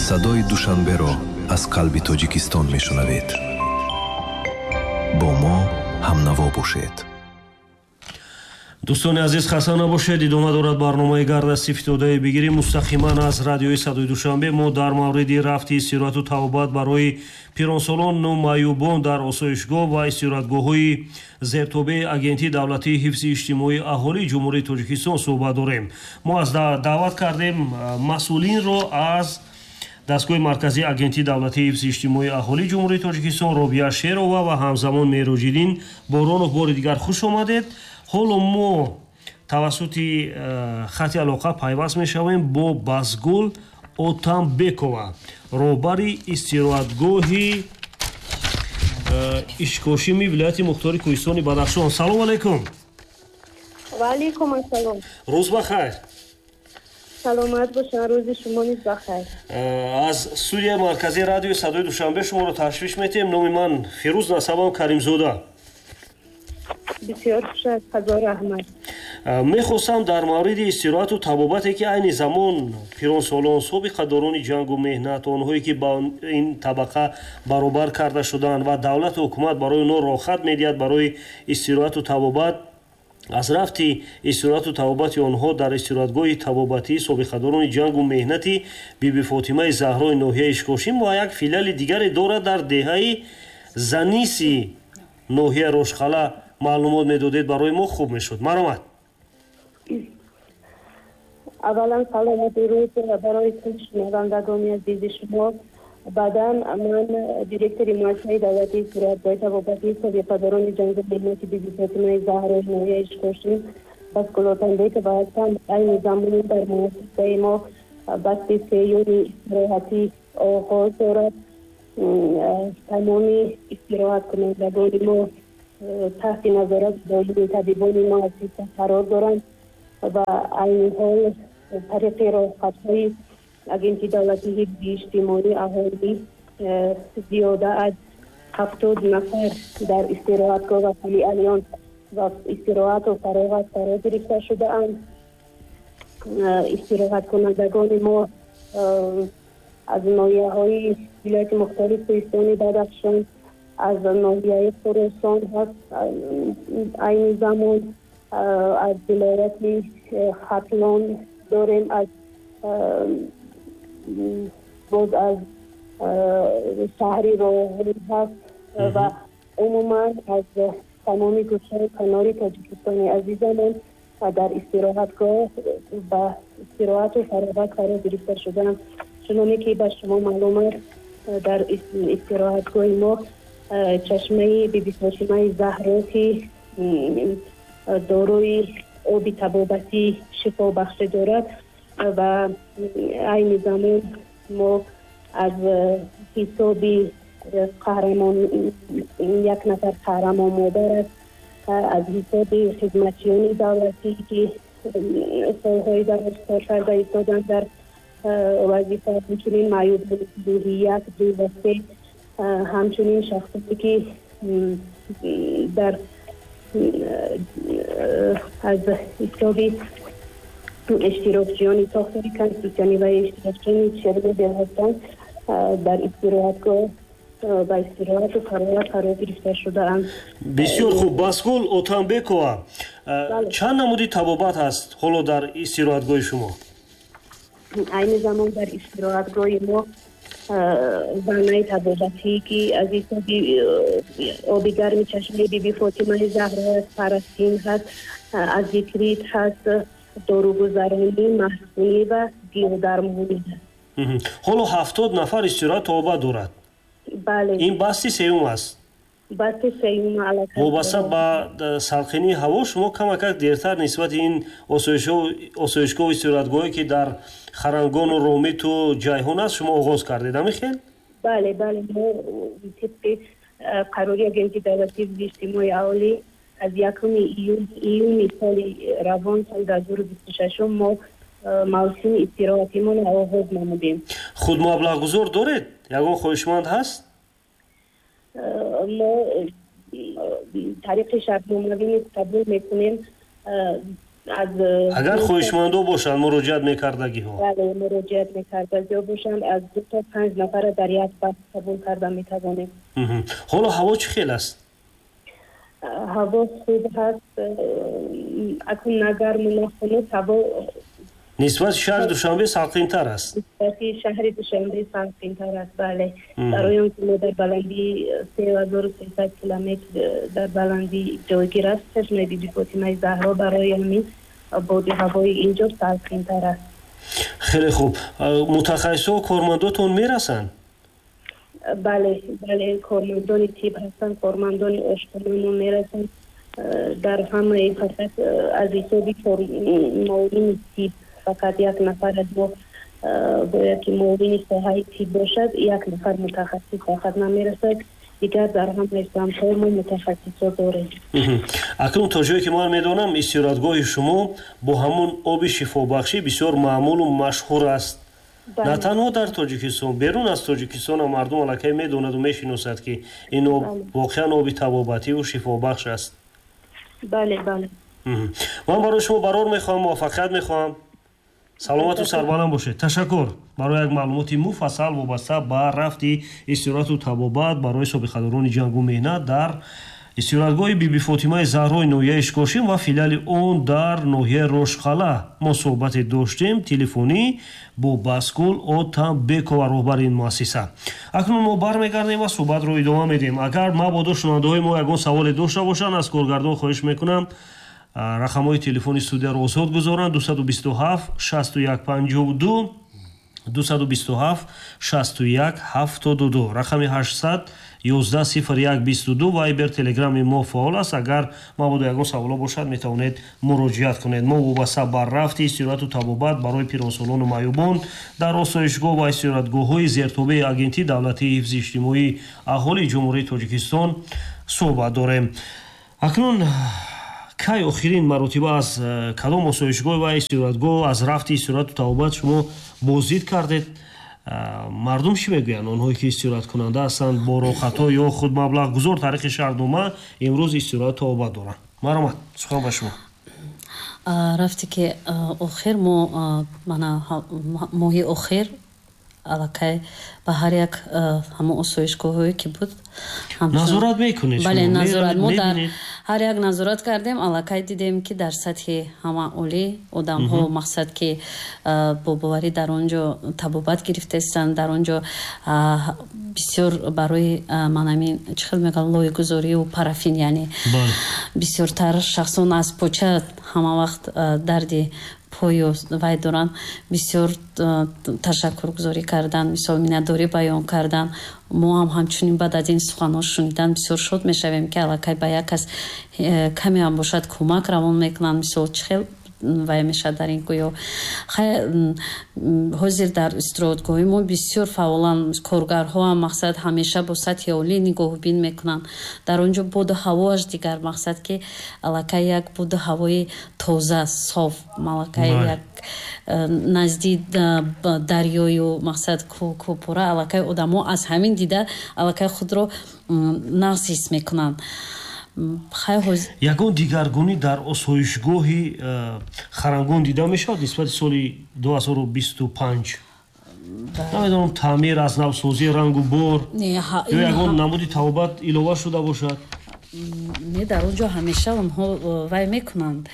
Садои Душанберо аз қалби Тоҷикистон мешунавед. Бо мо ҳамнаво бошед. Дӯстони азиз, хаста набошед. Идома дорад барномаи «Гардасти фитодаи бигирӣ» мустақиман аз радиои Садои Душанбе. Мо дар мавриди рафти истироҳату табобат барои пиронсолону маъюбон дар осоишгоҳ ва истироҳатгоҳҳои зертобеи Агентии давлатии ҳифзи иҷтимоии аҳолии Ҷумҳурии Тоҷикистон суҳбат дорем. Мо аз даъват кардем масъулинро аз дастгоҳи марказии Агентии давлатии ҳифзи иҷтимоии аҳолии Ҷумҳурии Тоҷикистон, Робия Шерова ва ҳамзамон Мероҷиддин Боронов. Бори дигар хуш омадед. Ҳоло мо тавассути хати алоқа пайваст мешавем бо Басгул Отамбекова, роҳбари истироҳатгоҳи Ишкошими вилояти мухтори Кӯҳистони Бадахшон. Салому алайкум. Ваалайкум ассалом. Рӯз бахайр. Саломат бошанд, рӯзи шумо низ бахайр. Аз студияи марказии радиои Садои Душанбе шуморо ташвиш метиҳем. Номи ман Фирӯз, насабам Каримзода. Бисёр хуш аст, ҳазор раҳмат. Мехостам дар мавриди истироҳату табобате, ки айни замон пиронсолон, собиқадорони ҷангу меҳнат, онҳое ки ба ин табақа баробар карда шуданд ва давлату ҳукумат барои онҳо роҳхат медиҳад барои истироҳату табобат, аз рафти истироҳату табобати онҳо дар истироҳатгоҳи табобатии собиқадорони ҷангу меҳнати Биби Фотимаи Заҳрои ноҳияи Ишкошим ва як филиали дигаре дорад дар деҳаи Заниси ноҳияи Рошқала маълумот медодед, барои мо хуб мешуд. Марҳамат. Аввалан, салому дуруд барои кулли шунавандагони азизи шумо. Баъдан, ман директори муассисаи давлатии истироҳатгоҳи табобатии собиқадорони ҷангу меҳнати Биби Фотимаи Заҳрои ноҳияи Ишкошим Басгул Отамбекова ҳастам. Айни замон дар муассисаи мо басти сеюми истироҳатӣ оғоз дорад. Тамоми истироҳаткунандагони мо таҳти назорати доимии табибони муассиса қарор доранд ва айни ҳол тариқи роҳхатҳои Агентии давлатии ҳифзи иҷтимоии аҳолӣ зиёда аз 70 нафар дар истироҳатгоҳ ва филиалиён ва истироҳату фароғат фаро гирифта шудаанд. Истироҳаткунандагони мо аз ноҳияҳои вилояти мухтори Кӯҳистони Бадахшон, аз ноҳияи Хуросон ҳаст, айни замон аз вилояти Хатлон дорем, аз боз аз шаҳри Роғун ҳаст ва умуман аз тамоми гӯшаю канори Тоҷикистони азизамон дар истироҳатгоҳ ба истироҳату фароғат фаро гирифта шудаанд. Чуноне ки ба шумо маълум аст, дар истироҳатгоҳи мо чашмаи Биби Фотимаи Заҳро, ки дорои оби табобатӣ шифобахшӣ дорад ва айни замон мо аз ҳисоби қаҳрамон, як нафар қаҳрамон модар аст, аз ҳисоби хизматчиёни давлатӣ, ки солҳои дароз кор карда истоданд дар вазифа, ҳамчунин маъюбони гурӯҳи як, ду ва се, ҳамчунин шахсоне, ки дар аз ҳисоби иштирокчиёни сохтори конститутсионӣ ва иштирокчиёни Чернобил ҳастанд, дар истироҳатгоҳ ба истироҳату фароғат фаро гирифта шудаанд. Бисёр хуб, Басгул Отамбекова, чанд намуди табобат ҳаст ҳоло дар истироҳатгоҳи шумо? Айни замон дар истироҳатгоҳи мо ваннаи табобатӣ, ки аз ҳисоби оби гарми чашмаи Биби Фотимаи Заҳро аст, парастин ҳаст, азикрит ҳаст, доругузаронӣ, маҳсунӣ ва гиёҳдармонӣ ҳаст. Ҳоло 70 нафар истироҳат табобат дорад? Бале. Ин басти сеюм аст? Басти сеюм аллакай. Вобаста ба салқинии ҳаво шумо камакак дертар нисбати ин осоишгоҳу истироҳатгоҳе, ки дар Харангону Ромиту Ҷайҳун аст, шумо оғоз кардед, ҳамин хел? Бале, мо тибқи қарори Агентии давлатии ҳифзи иҷтимоии аҳолӣ аз 1 июни соли равон, соли 2026, мо мавсими истироҳатимонро оғоз намудем. Худ маблағгузор доред? Ягон хоҳишманд ҳаст? Мо тариқи шартномавӣ низ қабул мекунем. Аз Агар хоҳишмандо бошанд, муроҷиат мекардагиҳо. Бале, муроҷиат мекардагиҳо бошанд, аз 2 то 5 нафара дар як вақт қабул карда метавонем. Ҳоло ҳаво чӣ хел аст? Ҳаво хуб ҳаст, акнун на гарму на хунук, ҳаво нисбати шаҳри Душанбе салқинтар аст. Нисбати шаҳри Душанбе салқинтар аст, бале. Барои он ки мо дар баландии 3300 километр дар баландӣ ҷойгир аст чашмаи Биби Фотимаи Заҳро, барои ҳамин боди ҳавои инҷо салқинтар аст. Хеле хуб. Мутахассисҳо, кормандотон мерасанд? Бале, бале, кормандони тиб ҳастанд, кормандони ошхонамо мерасанд. Дар ҳамаи фақат аз ҳисоби муовини тиб фақат як нафар аз мо бояд ки муовини соҳаи тиб бошад, як нафар мутахассис фақат намерасад. Дигар дар ҳамаи самтҳо мо мутахассисҳо дорем. Акнун то ҷое ки ман медонам, истироҳатгоҳи шумо бо ҳамон оби шифобахшӣ бисёр маъмулу машҳур аст. На танҳо дар Тоҷикистон, берун аз Тоҷикистон ҳам мардум аллакай медонаду мешиносад, ки ин об воқеан оби табобативу шифобахш аст. Бале, бале. Ман барои шумо барор мехоҳам, муваффақият мехоҳам. Саломату сарбаланд бошед. Ташаккур барои як маълумоти муфассал вобаста ба рафти истироҳату табобат барои собиқадорони ҷангу меҳнат дар истироҳатгоҳи Биби Фотимаи Заҳрои ноҳияи Ишкошим ва филиали он дар ноҳияи Рошқала. Мо суҳбате доштем телефонӣ бо Баскул Отамбекова, роҳбари ин муассиса. Акнун мо бармегардем ва суҳбатро идома медиҳем. Агар мабодо шунавандаҳои мо ягон саволе дошта бошанд, аз коргардон хоҳиш мекунам рақамҳои телефони студияро озод гузоранд: 227 61 52, 227 61 72, рақами 800 11 01 22. Вайбер, телеграми мо фаъол аст. Агар мабодо ягон саволо бошад, метавонед муроҷиат кунед. Мо вобаста ба рафти истироҳату табобат барои пиронсолону маъюбон дар осоишгоҳ ва истироҳатгоҳҳои зертобеи Агентии давлатии ҳифзи иҷтимоии аҳолии Ҷумҳурии Тоҷикистон суҳбат дорем. Акнун кай охирин маротиба аз кадом осоишгоҳ ва истироҳатгоҳ аз рафти истироҳату табобат шумо боздид кардед? Мардум чӣ мегӯянд, онҳое ки истироҳаткунанда ҳастанд, бо роҳхатҳо ё худ маблағгузор тариқи шаҳрнома имрӯз истироҳат табобат доранд? Марҳамат, сухан ба шумо. Рафте ки охир мо мана моҳи охир аллакай ба ҳар як ҳамон осоишгоҳҳое ки буд назорат мекунед? Бале, назорат мо дар ҳар як назорат кардем. Аллакай дидем, ки дар сатҳи ҳама олӣ одамҳо, мақсад ки бо боварӣ дар он ҷо табобат гирифтаистанд. Дар он ҷо бисёр барои манамин чӣ хел мегӯям, лойгузорию парафин, яъне бисёртар шахсон аз поча ҳама вақт дарди пою вай доранд, бисёр ташаккургузорӣ кардан, мисол миннатдорӣ баён кардан. Мо ҳам ҳамчунин баъд аз ин суханҳо шунидан бисёр шод мешавем, ки аллакай ба як кас каме ҳам бошад кӯмак равон мекунанд. Мисол, чӣ хел вай мешавад дар ин гӯё. Ҳозир дар истироҳатгоҳи мо бисёр фаъолан коргарҳо ҳам, мақсад ҳамеша бо сатҳи олӣ нигоҳубин мекунанд. Дар он ҷо боду ҳавоаш дигар, мақсад ки аллакай як боду ҳавои тоза, соф, аллакай як назди дарёю мақсад кӯпура, аллакай одамо аз ҳамин дида аллакай худро нағз ҳис мекунанд. Ягон дигаргунӣ дар осоишгоҳи Харангон дида мешавад нисбати соли 2025? Намедонам, таъмир, аз навсозӣ, рангу бор ё ягон намуди табобат илова шуда бошад? Не, дар он ҷо ҳамеша онҳо вай мекунанд.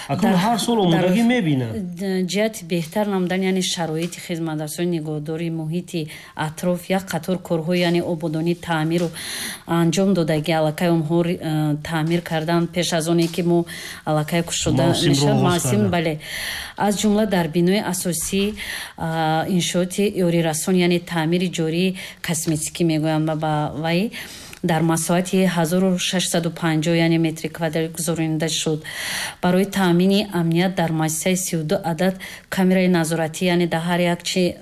Акнун ҳар сол омодагӣ мебинанд. Ҷиҳати беҳтар намудан, яъне шароити хизматрасони, нигоҳдории муҳити атроф, як қатор корҳо, яъне ободонӣ, таъмиру анҷом додагӣ. Аллакай онҳо таъмир кардан пеш аз оне ки мо аллакай кушода мешавад мавсим. Бале, аз ҷумла дар бинои асосӣ иншооти ёрирасон, яъне таъмири ҷории косметикӣ мегӯянд ба вай, дар масоҳати 1650, яъне метри квадрат гузаронида шуд. Барои таъмини амният дар муассисаи 32 адад камераи назоратӣ, яъне дар ҳар як чи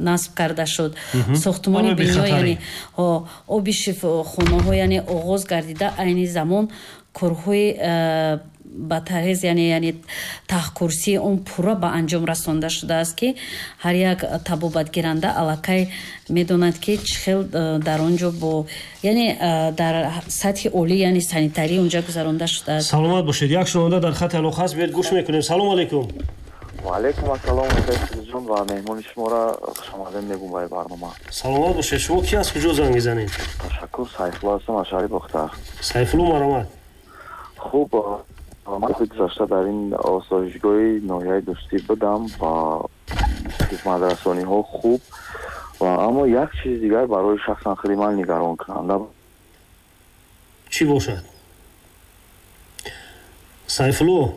насб карда шуд. Сохтмони бино, яъне оби шифохонаҳо, яъне оғоз гардида, айни замон корҳои Ба тарҳез, яъне таҳкурсии он пурра ба анҷом расонда шудааст, ки ҳар як табобатгиранда аллакай медонад, ки чӣ хел дар он ҷо бо, яъне дар сатҳи олӣ, яъне санитарӣ онҷа гузаронда шудааст. Саломат бошед. Як шунаванда дар хати алоқа аст, биёед, гӯш мекунем. Салом алейкум. Ваалайкум ассалом, ҷон, ва меҳмони шуморо хушомадед мегӯм ба барнома. Саломат бошед. Шумо ки, аз куҷо занг мезанед? Ташаккур, Сайфулло ҳастам аз шаҳри Бохтар. Сайфулло, маромад. Хуб, ман гузашта дар ин осоишгоҳи ноҳияи Дӯстӣ будам ва хизматрасониҳо хуб, ва аммо як чизи дигар барои шахсан худи ман нигаронкунанда. Чӣ бошад, Сайфулло?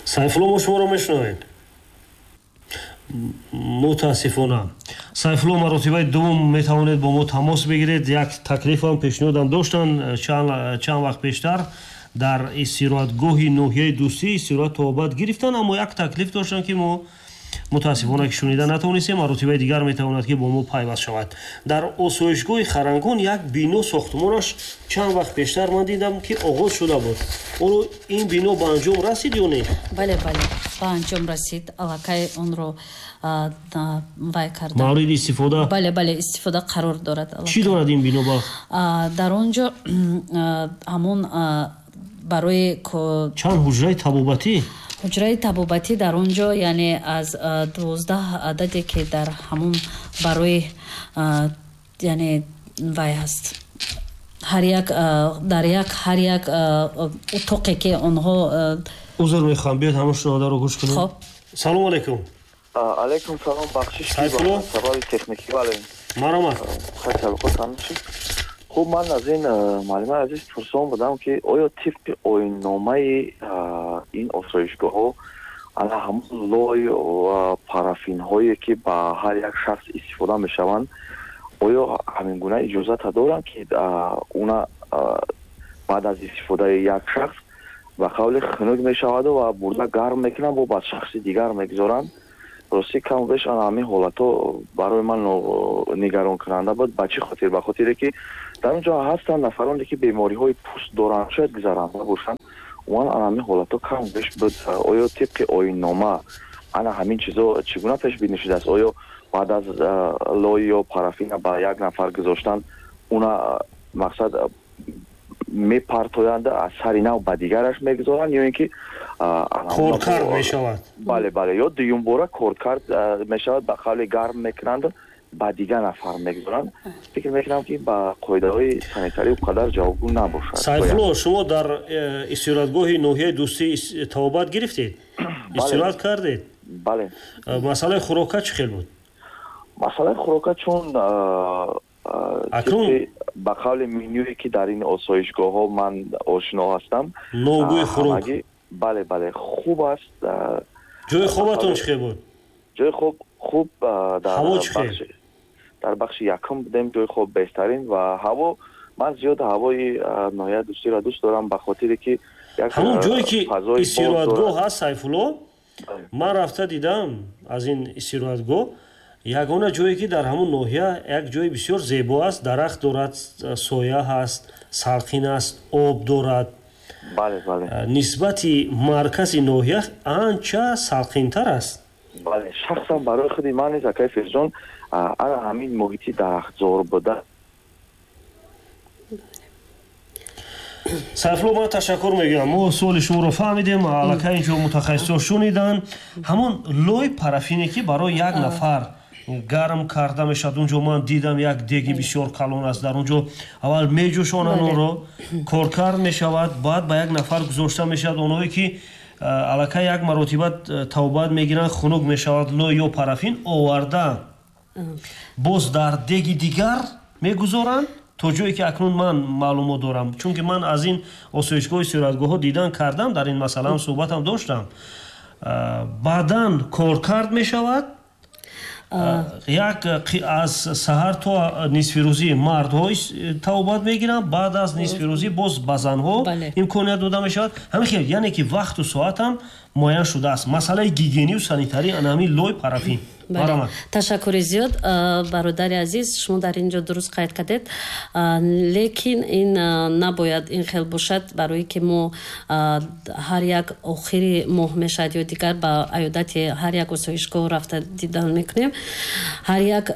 Сайфулло, мо шуморо мешунавем. Мутаассифона, Сайфулло, маротибаи дуввум метавонед бо мо тамос бигиред. Як таклифам, пешниҳодам доштанд. Чанд вақт пештар дар истироҳатгоҳи ноҳияи Дӯстӣ истироҳат, табобат гирифтанд, аммо як таклиф доштанд, ки мо мутаассифона ки шунида натавонистем. Маротибаи дигар метавонад, ки бо мо пайваст шавад. Дар осоишгоҳи Харангон як бино, сохтумонаш чанд вақт пештар ман дидам, ки оғоз шуда буд. Оно ин бино ба анҷом расид ё не? Бале, ба анҷом расид, аллакай онро вай карда. Мавриди истифода? Бале, истифода қарор дорад. Чӣ дорад ин бино ба? Дар он ҷо ҳамон барои Чанд ҳуҷраи табобатӣ? Ҳуҷраи табобатӣ дар он ҷо, яъне аз 12 ададе, ки дар ҳамон барои, яъне вай ҳаст, ҳар як дар як ҳар як утоқе, ки онҳо Узр мехоҳам, биёед, ҳамон шунавандаро гӯш кунем. Хоб. Салому алайкум. Алайкум салом, бахшиш, сабаби техникӣ, бале. Маромад. Хуб, ман аз ин муаллимаи азиз пурсон будам, ки оё тибқи оинномаи ин осоишгоҳҳо ана ҳамон лой ва парафинҳое, ки ба ҳар як шахс истифода мешаванд, оё ҳамин гуна иҷозата доранд, ки уна баъд аз истифодаи як шахс, ба қавли, хунук мешаваду ва бурда гарм мекунанд, бо ба шахси дигар мегузоранд? Ростӣ, каму беш ана ҳамин ҳолатҳо барои ман нигаронкунанда буд. Ба чӣ хотир? Ба хотире ки дар он ҷо ҳастанд нафароне, ки бемориҳои пӯст доранд, шояд гузаранда бошанд. Умуман, ана ҳамин ҳолатҳо каму беш буд. Оё тибқи оиннома ана ҳамин чизо чӣ гуна пешбинӣ шудааст? Оё баъд аз лой ё парафина ба як нафар гузоштан, уна, мақсад, мепартоянд, аз сари нав ба дигараш мегузоранд ё ин ки Коркард мешавад? Бале, ё дуюмбора коркард мешавад, ба қавли, гарм мекунанд, ба дигар нафар мегузоранд. Фикр мекунам, ки ба қоидаҳои санитарӣ он қадар ҷавобгӯ набошад. Сайфулло, шумо дар истироҳатгоҳи ноҳияи Дӯстӣ табобат гирифтед, истироҳат кардед? Бале. Масъалаи хӯрока чӣ хел буд? Масъалаи хӯрока, чун Акнун ба қавли менюе, ки дар ин осоишгоҳҳо ман ошино ҳастам, Ногӯи хӯрок. Бале, хуб аст. Ҷои хобатон чӣ хел буд? Ҷои хоб хуб. Ҳаво чӣ хел? Дар бахши якум будем, ҷои хоб беҳтарин ва ҳаво, ман зиёд ҳавои ноҳияи Дӯстиро дӯст дорам, ба хотире ки Ҳамон ҷое ки истироҳатгоҳ ҳаст, Сайфулло, ман рафта дидам аз ин истироҳатгоҳ, ягона ҷое, ки дар ҳамон ноҳия як ҷои бисёр зебо аст, дарахт дорад, соя ҳаст, салқин аст, об дорад. Бале, бале. Нисбати маркази ноҳия анча салқинтар аст. Бале, шахсан барои худи ман низ, акаи Фирҷон, ана ҳамин муҳити дарахтзор буда. Сайфулло, ман ташаккур мегӯям, мо суоли шуморо фаҳмидем, аллакай инҷо мутахассисо шуниданд. Ҳамон лои парафине, ки барои як нафар гарм карда мешавад, унҷо ман дидам, як деги бисёр калон аст, дар унҷо аввал меҷӯшонанд онро, коркард мешавад, баъд ба як нафар гузошта мешавад. Онҳое ки аллакай як маротиба табобат мегиранд, хунук мешавад лой ё парафин, оварда боз дар деги дигар мегузоранд. То ҷое ки акнун ман маълумот дорам, чунки ман аз ин осоишгоҳи истироҳатгоҳҳо дидан кардам, дар ин масъалаам суҳбатам доштам, баъдан коркард мешавад. Як аз саҳар то нисфирӯзӣ мардҳо табобат мегиранд, баъд аз нисфирӯзӣ боз ба занҳо имконият дода мешавад. Ҳамин хел, яъне ки вақту соатам Муайян шудааст масъалаи гигиению санитарӣ, ана ҳамин лой, парафин? Ташаккури зиёд, бародари азиз, шумо дар ин ҷо дуруст қайд кардед, лекин ин набояд ин хел бошад, барое ки мо ҳар як охири моҳ мешавад ё дигар ба аёдати ҳар як осоишгоҳ рафта дидан мекунем. Ҳар як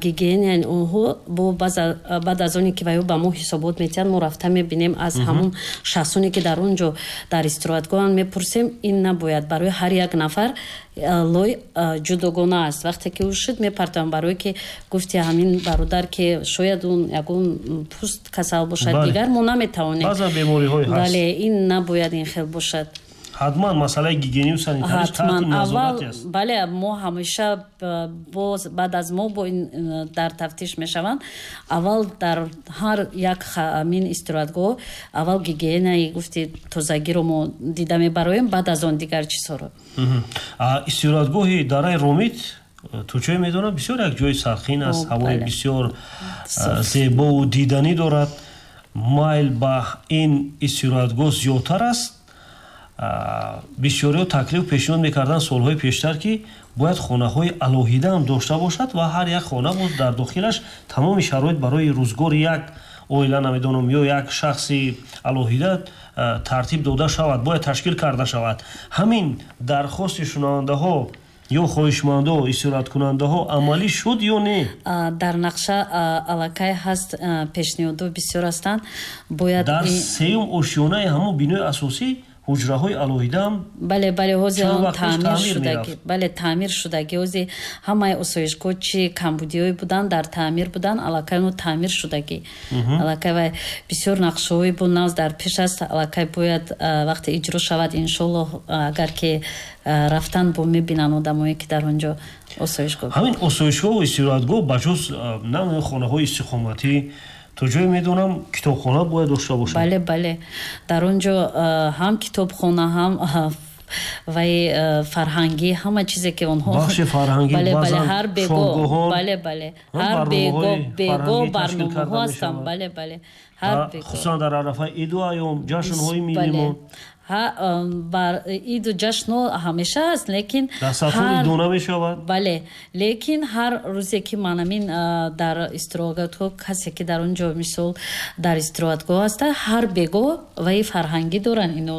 гигиенаи онҳо бо баъд аз оне ки ваё ба мо ҳисобот метиҳанд, мо рафта мебинем, аз ҳамон шахсоне ки дар он ҷо дар истироҳатгоҳанд мепурсем. Ин набояд, барои ҳар як нафар лой ҷудогона аст. Вақте ки ӯ шуд, мепартоям, барое ки гуфти ҳамин бародар, ки шояд он ягон пӯст касал бошад, дигар мо наметавонем. Бале, ин набояд ин хел бошад. Ҳатман масъалаи гигиению санитариш таҳти назорати аст. Бале, мо ҳамеша боз баъд аз мо бо ин дар тафтиш мешаванд. Аввал дар ҳар як ҳамин истироҳатгоҳ аввал гигиенаи, гуфти, тозагиро мо дида мебароем, баъд аз он дигар чизҳоро. Истироҳатгоҳи дараи Ромит, то ҷое медонам, бисёр як ҷои сархин аст, ҳавои бисёр зебову диданӣ дорад. Майл ба ин истироҳатгоҳ зиёдтар аст. Бисёриҳо таклиф пешниҳод мекарданд солҳои пештар, ки бояд хонаҳои алоҳида ҳам дошта бошад ва ҳар як хона боз дар дохилаш тамоми шароит барои рӯзгори як оила, намедонам, ё як шахси алоҳида тартиб дода шавад, бояд ташкил карда шавад. Ҳамин дархости шунавандаҳо ё хоҳишмандо, истироҳаткунандаҳо амалӣ шуд ё не? Дар нақша аллакай ҳаст, пешниҳодҳо бисёр ҳастанд, бояд Дар сеюм ошёнаи ҳамон бинои асосӣ ҳуҷраҳои алоҳидаам. Бале, ҳозир он таъмир шудаги, бале, таъмир шудаги. Ҳозир ҳамаи осоишгоҳ чи камбудиҳое буданд, дар таъмир буданд, аллакай оно таъмир шудаги. Аллакай вай бисёр нақшаҳои бо нав дар пеш аст, аллакай бояд вақте иҷро шавад, иншоллоҳ, агар ки рафтан бо мебинанд одамое ки дар он ҷо осоишгоҳ. Ҳамин осоишгоҳу истироҳатгоҳ ба ҷуз на хонаҳои истиқоматӣ, то ҷое медонам, китобхона бояд дошта бошад. Бале, дар он ҷо ҳам китобхона, ҳам вай фарҳангӣ, ҳама чизе ки онҳо Бахши фарҳангӣ. Бале, ҳар бего, бале, ҳар бего барномаҳо ҳастанд, бале. Ҳар хусусан дар арафаи иду айём, ҷашнҳои миллимон. Бар иду ҷашнҳо ҳамеша аст, лекин Дастархон идона мешавад. Бале, лекин ҳар рӯзе ки манамин дар истироҳатгоҳ, касе ки дар он ҷо, мисол, дар истироҳатгоҳ аста, ҳар бего ваи фарҳангӣ доранд ино.